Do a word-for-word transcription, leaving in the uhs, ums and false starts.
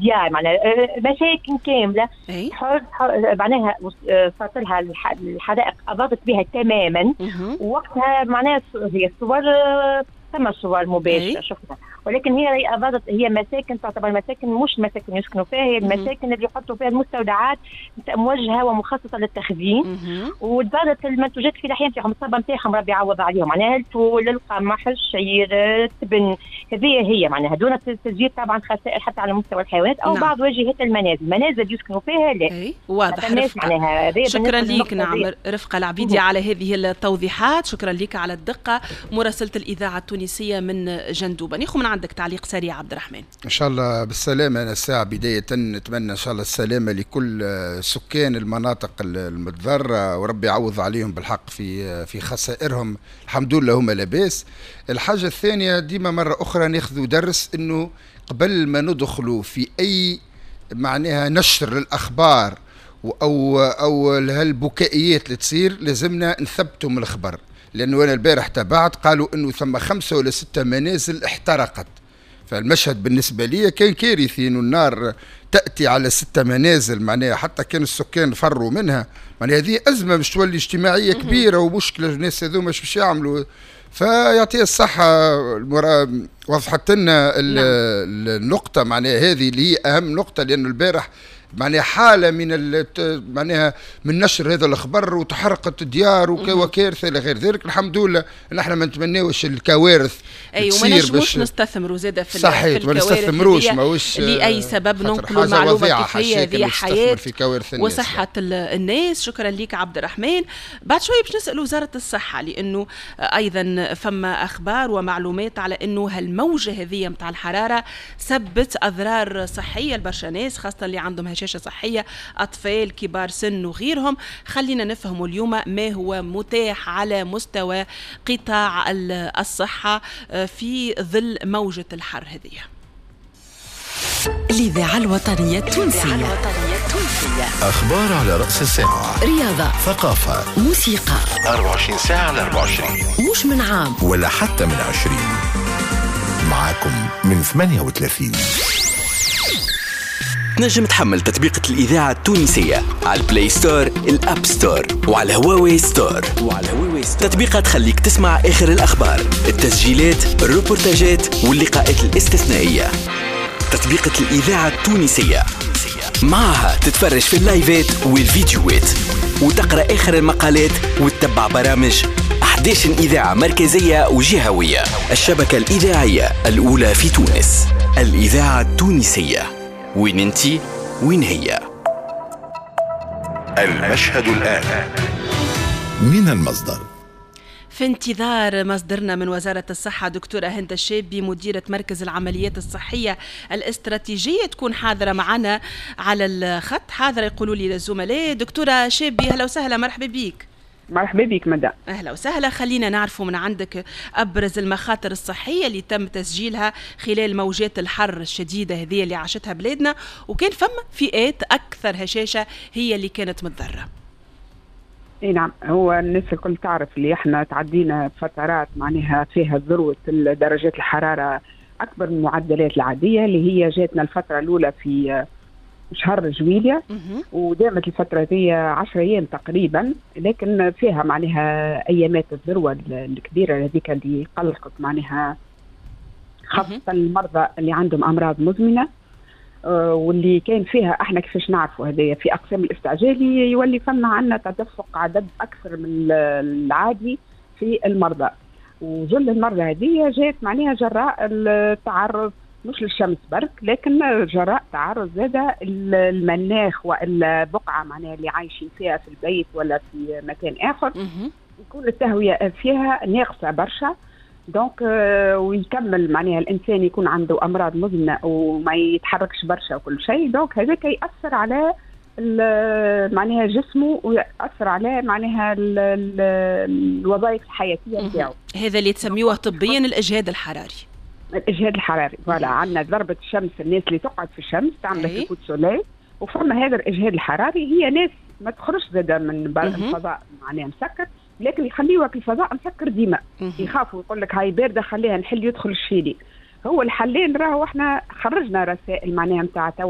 ديار معناها مساكن كاملة معناها صارت لها الحرائق اضرت بها تماما. ووقتها معناها هي الصور، ثم صور مباشرة شفنا، ولكن هي أضرت، هي مساكن تعتبر مساكن مش مساكن يسكنوا فيها، هي المساكن اللي يحطوا فيها المستودعات موجهة ومخصصه للتخزين، وتضرت المنتوجات الفلاحية نتاعهم، الصبه نتاعهم ربي يعوض عليهم، معناها الفول، القمح، الشعير، التبن، هذه هي معناها دون تسجيل طبعا خسائر حتى على مستوى الحيوانات او نعم. بعض واجهات المنازل، المنازل يسكنوا فيها لا. واضح. معناها شكرا لك نعم رفقه العبيدي على هذه التوضيحات، شكرا لك على الدقة مراسله الاذاعة التونسية من جندوبه. ناخذ من عندك تعليق سريع عبد الرحمن. ان شاء الله بالسلامة. انا الساعة بداية نتمنى ان شاء الله السلامة لكل سكان المناطق المتضررة، وربي يعوض عليهم بالحق في في خسائرهم، الحمد لله هما لاباس. الحاجة الثانية ديما مرة اخرى ناخذ درس انه قبل ما ندخلوا في اي معناها نشر للاخبار او او هالبكائيات اللي تصير لازمنا نثبتوا من الخبر، لانه انا البارح تابعت قالوا انه ثم خمسة ولا ستة منازل احترقت، فالمشهد بالنسبة لي كان كارثي انه النار تاتي على ستة منازل، معناها حتى كان السكان فروا منها، معناها هذه ازمة باش تولي اجتماعية كبيرة ومشكلة، الناس هذوما باش يعملوا. فيعطيه الصحة وضحت لنا النقطة معناها هذه اللي هي اهم نقطه، لانه البارح معناها حاله من معناها من نشر هذا الخبر وتحرقت الديار وكارثة الى غير ذلك. الحمد لله نحن ما نتمناوش الكوارث. اي وما نجموش نستثمروا زاده في صحيح، ما نستثمروش ماهوش لاي سبب ننقلوا المعلومة كيف هي، هذه حياة في كوارث الناس وصحة الناس. شكرا لك عبد الرحمن. بعد شوي باش نسال وزارة الصحة، لانه ايضا فما اخبار ومعلومات على انه هالموجه هذه نتاع الحرارة سبت اضرار صحية لبرشا ناس، خاصة اللي عندهم هشاشة صحية، أطفال، كبار سن وغيرهم. خلينا نفهم اليوم ما هو متاح على مستوى قطاع الصحة في ظل موجة الحر هذه. الإذاعة الوطنية التونسية، أخبار على رأس الساعة، رياضة، ثقافة، موسيقى، أربعة وعشرين ساعة على أربعة وعشرين، مش من عام ولا حتى من عشرين، معاكم من ثمانية وثلاثين. تنجم تحمل تطبيقة الإذاعة التونسية على ال Play Store، ال App Store، وعلى هواوي Store. وعلى هواوي Store تطبيقة تخليك تسمع آخر الأخبار، التسجيلات، الروبورتاجات واللقاءات الاستثنائية. تطبيقة الإذاعة التونسية معها تتفرج في اللايفات والفيديوهات وتقرأ آخر المقالات وتتبع برامج أحد عشر إذاعة مركزية وجهوية. الشبكة الإذاعية الأولى في تونس، الإذاعة التونسية. وين انتي وين هي؟ المشهد الآن من المصدر. في انتظار مصدرنا من وزارة الصحة دكتورة هند الشابي مديرة مركز العمليات الصحية الاستراتيجية تكون حاضرة معنا على الخط. حاضرة يقولوا لي الزملاء. دكتورة شابي أهلا وسهلا، مرحبا بك. مرحبا بك مدام. اهلا وسهلا. خلينا نعرفوا من عندك ابرز المخاطر الصحية اللي تم تسجيلها خلال موجات الحر الشديدة هذه اللي عاشتها بلادنا، وكان فما فئات اكثر هشاشة هي اللي كانت متضرره. اي نعم، هو الناس الكل تعرف اللي احنا تعدينا فترات معناها فيها ذروة درجات الحرارة اكبر من المعدلات العادية، اللي هي جاتنا الفترة الاولى في شهر جويليا ودامت الفترة دي عشرة أيام تقريبا، لكن فيها معناها أيامات الذروة الكبيرة هذيك اللي قلقت معناها خاصة المرضى اللي عندهم أمراض مزمنة، واللي كان فيها احنا كيفاش نعرفوا هذايا في أقسام الاستعجالي يولي فما عندنا تدفق عدد أكثر من العادي في المرضى، وجل المرضى هذه جات معناها جراء التعرض مش للشمس برك، لكن جراء تعرض زاد المناخ والبقعة معناها اللي عايشين فيها في البيت ولا في مكان آخر يكون التهوية فيها ناقصة برشا. donc ويكمل معناها الإنسان يكون عنده أمراض مزمنة وما يتحركش برشا وكل شيء، donc هذاك يأثر على معناها جسمه ويأثر على معناها الوظائف الحياتية نتاعو. هذا اللي تسميوه طبيا الإجهاد الحراري. الاجهاد الحراري voilà، عندنا ضربه الشمس، الناس اللي تقعد في الشمس تعمل coup de soleil، وفما هذا الاجهاد الحراري. هي ناس ما تخرجش زاده من الفضاء معناها مسكر، لكن يخليوها في الفضاء مسكر ديما، يخافوا يقول لك هاي باردة خليها نحل يدخل الشيلي. هو الحلين راهو احنا خرجنا رسائل معناها نتاع توعيه.